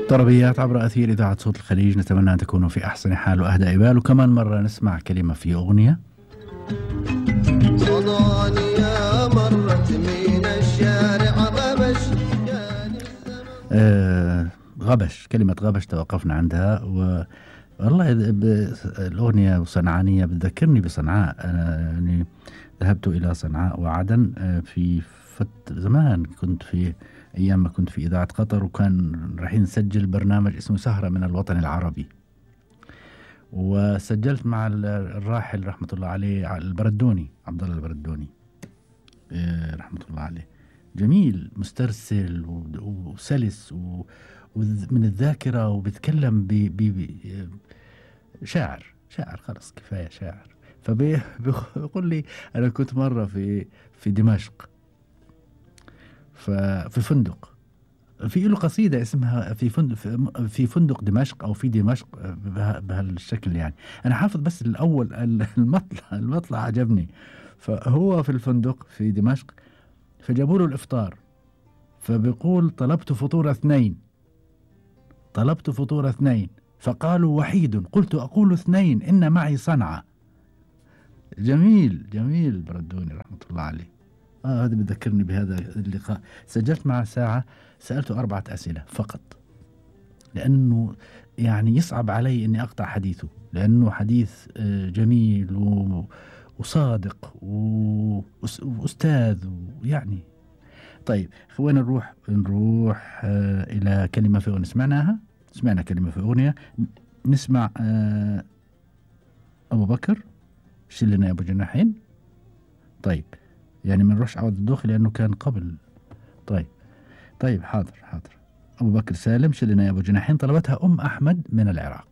طربيات عبر أثير إذاعة صوت الخليج، نتمنى أن تكونوا في أحسن حال وأهدى بال. وكمان مرة نسمع كلمة في أغنية. صدانية مرت من الشارع غبش غبش، كلمة غبش توقفنا عندها. والله الأغنية صنعانية بتذكرني بصنعاء. يعني ذهبت إلى صنعاء وعدن في زمان، كنت في أيام ما كنت في إذاعة قطر، وكان رايحين نسجل برنامج اسمه سهرة من الوطن العربي، وسجلت مع الراحل رحمة الله عليه البردوني، عبد الله البردوني رحمة الله عليه. جميل، مسترسل وسلس ومن الذاكرة، وبيتكلم شاعر خلاص كفاية شاعر. فبيقول لي أنا كنت مرة في دمشق، في فندق، في له قصيدة اسمها في فندق دمشق أو في دمشق بهالشكل. يعني أنا حافظ بس الأول، المطلع عجبني. فهو في الفندق في دمشق، فجابوا له الإفطار، فبيقول طلبت فطور اثنين فقالوا وحيد، قلت أقول اثنين إن معي صنعة. جميل بردوني رحمة الله عليه. هذا بذكرني بهذا اللقاء. سجلت معه ساعة، سألته 4 أسئلة فقط، لأنه يعني يصعب علي أني أقطع حديثه، لأنه حديث جميل وصادق وأستاذ ويعني. طيب خلينا نروح إلى كلمة في أغنية. سمعنا كلمة في أغنية. نسمع أبو بكر شلنا يا أبو جناحين. طيب يعني ما نروحش عوض الدوخي لأنه كان قبل. طيب حاضر. أبو بكر سالم شلنا يا أبو جناحين، طلبتها أم أحمد من العراق.